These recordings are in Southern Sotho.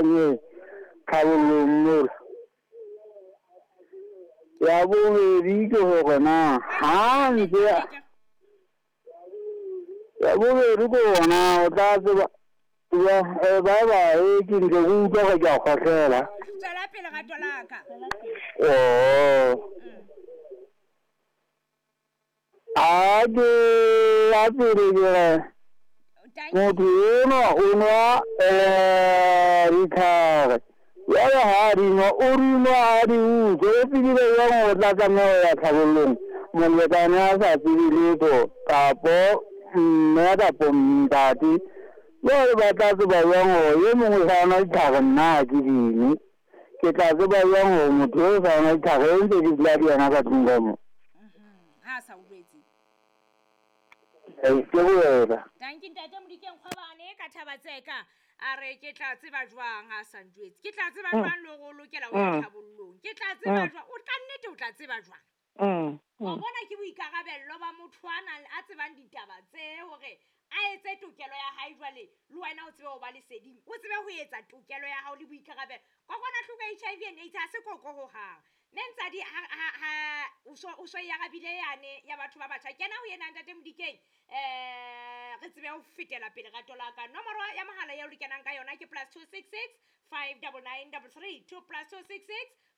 Nye tlhabollong mola. Ya bobedi ke hore na ha ntse ya bobedi ke hore na o tla tseba ya eh, bye bye ke ntse ke utlwa gore ke a kgohlela. Tswela pele rato la ka. Oh. A ke ya pele ke re motho enwa o nwa um ditlhare jale ga a di nwa o di nwa a di utswe o tsebile jang o tla tlameha ho ya tlhabollong molekane a sa tsebe letho kapo mme kapo ntate jale ba tla tseba jang gore ye mongwe sa nwa ditlhare nna ga ke dingwe ke tla tseba jang gore motho yo o sa nwa ditlhare e ntse di dula di yena ka tlung ka mo ha a sa utlwetse ke go wena. Tanki ntate Modikeng Kgwebane ka thaba tseka a re ke tla tseba jwang a sa njwetse ke tla tseba jwang le gore o lokela ho ya tlhabollong ke tla tseba jwang o ka nnete o tla tseba jwang wa bona ke boikarabello ba motho a nang a tsebang ditaba tse hore a etse tokelo ya hae jwale le wena o tsebe ho ba leseding o tsebe ho etsa tokelo ya hao le boikarabelo kokwanahloko ya HIV and AIDS ha se koko hohang Mme Ntsadi ha ha ha o so o so e arabile yane ya batho ba batjha. Kena ho yena ntate Modikeng eh re tsebe ho fetela pele rato la ka. Nomoro ya mohala eo re kenang ka yona ke +266 599 33 2 +266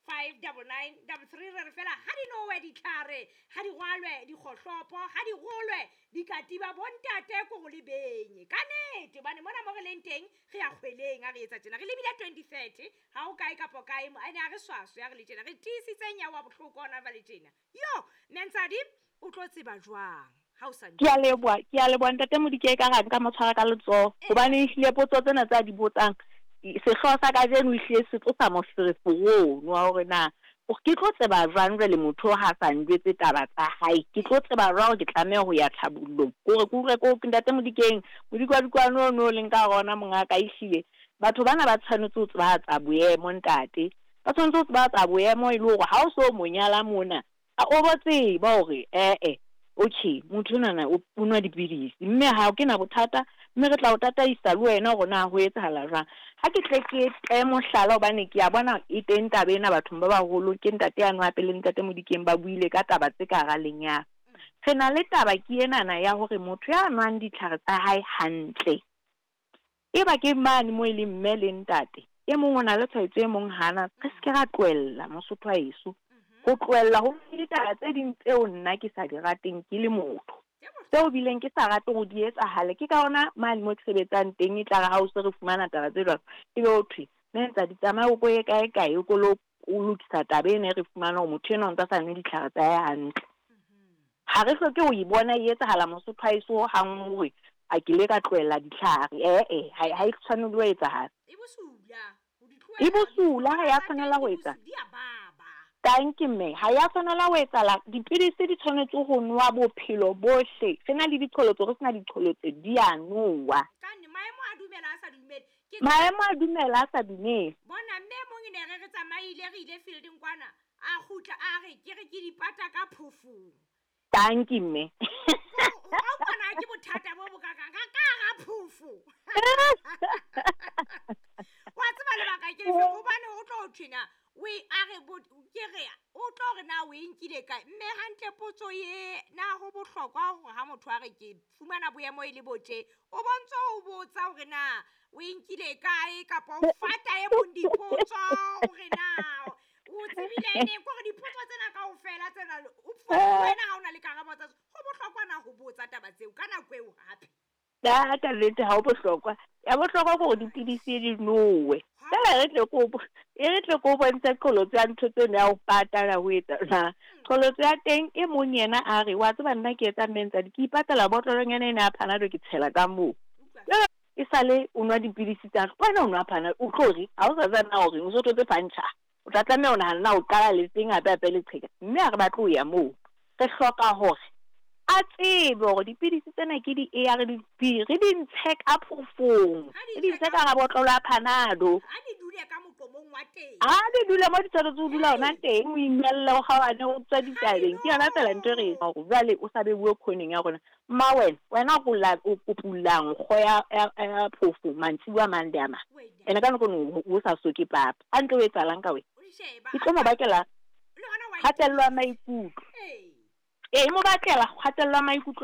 599 33 re re fela ha di nowe ditlhare ha di rwalwe dikgohlopo ha di rolwe dikatiba bontate ko go le benye ka nete hobane mona mo re leng teng re ya kgweleng ha re etsa tjena re lebile 2030 Ha o kae kapo kae, ene a re swaswe, a re le tjena, re tiisitseng ya wa bohloko hona jwale tjena. Yo, Nensadi, o tlo tseba jwang ha o sa Ke a leboha, ke a leboha Ntate Modike ekare nka mo tshwara ka letsoho hobane ehlile potso tsena tse a di botsang sehlooho sa kajeno ehlile se tlosa moferefere ono wa hore na ke tlo tseba jwang jwale motho ha a sa njwetse taba tsa hae, ke tlo tseba jwang hore ke tlameha ho ya tlhabollong. Ke hore ke utlwe ko Ntate Modikeng, modikwadikwane ono o leng ka hara ona mongaka ehlile Batho bana ba tshwanetse ho tsebahatsa boemo, ntate. Ba tshwanetse ho tsebahatsa boemo e le hore ha o so mo nyala mona, a o bo tseba hore e-e, okay, motho enwana o o nwa dipidisi, mme ha ke na bothata, mme re tla o tataisa le wena hore na ho etsahala jwang. Ha ke tle ke te mohlala hobane ke a bona e teng taba ena bathong ba baholo, ke ntate yane hape le ntate Modikeng ba buile ka taba tse ka hara lenyalo. Re na le taba ke enana ya hore motho ya nwang ditlhare tsa hae hantle, Eba ke mane moo e leng mme le ntate, e mong o na le tshwaetso e mong ha ana, re se ke ra tlohella, Mosotho wa heso. Ho tlohella ho na le ditaba tse ding tseo nna ke sa di rateng ke le motho, tseo bileng ke sa rate hore di etsahale. Ke ka hona mane moo ke sebetsang teng e tla re ha o se re fumana taba tse jwalo, ebe ho thwe, Mentsadi tsamaya o ko ye kae kae o ko lo o lokisa taba ena e re fumana hore motho enwa o ntsa sa nwe ditlhare tsa hae hantle. Ha re hloke ho e bona e etsahala Mosotho ha eso hang hore a ke ile ka tlohella ditlhare. E-e, ha ha e tshwanele ho etsahala. E bosula. Ho di E tlohela bosula, ha ya ditholwana tsa tshwanela teng ho di etsa. di a baba. Tanki mme, ha ya tshwanela ho etsahala. Dipidisi di tshwanetse ho nowa bophelo bohle. Re na le diqholotso, re sena diqholotso, di a nowa. Kanne maemo a dumela a sa dumele. Ke Maemo a dumela a sa dumele. Bona mme e mong e ne re re tsamaile re ile fielding kwana a kgutla a re ke re ke di pata ka phofong. Tanki mme. Wa utlwa na ke bothata bo bokakang ka ka hara phofo. Wa tseba lebaka ke lefe hobane o tlo thwe na o e a re ke re o tlo re na o e nkile kae mme hantle potso ye na ho bohlokwa hore ha motho a re ke fumana boemo e le bo tje o bontse o botsa hore na o e nkile kae kapa o fata e mong dipotso hore na o tsebile neng kore dipotso tsena kaofela tsena o wena ha o na le karabo tsa ho bohlokwa na ho botsa taba tseo ka nako eo hape. Ka ka nnete ha ho bohlokwa. Ya bohlokwa ke hore dipidisi di nowe. Fela e re tle ko e re tle ko bontshe qholotso ya ntho tseno ya ho patala ho etsa na. Qholotso ya teng e mong yena a re wa tseba nna ke etsa mme ntsadi ke ipatela botlolonyana ena ya Panado ke tshela ka moo. E sale o nwa dipidisi tsa wena o nwa Panado o tlo re ha o sa tseba na o reng o so thotse puncture. O tla tlameha ho nahana na o qala lefeng hape hape leqheka mme ha re batle ho ya moo. Re hloka hore a tsebe hore dipidisi tsena ke di-A_R_V, re di ntshe ka phofong, Ha re di di ntshe ntshe ka ka hara botlolo ya Panado. Ha di dule ka moqomong wa teng. A di dula mo di tshwanetse o dula ona teng, o inelle, o kgaohane, o tswa ditabeng. Ke yona fela ntho e re etsang hore jwale o sa beuwe khoneng ya rona. Mma wena, wena o la o kopullang nkgo ya ya ya phofo mantsibuya a mang le a mang. Ene ka nako e o sa soke papa. Hantle o etsahalang ka wena? E tlo mo bakela kgatello ya maikutlo. Ee, e mo bakela kgatello ya maikutlo.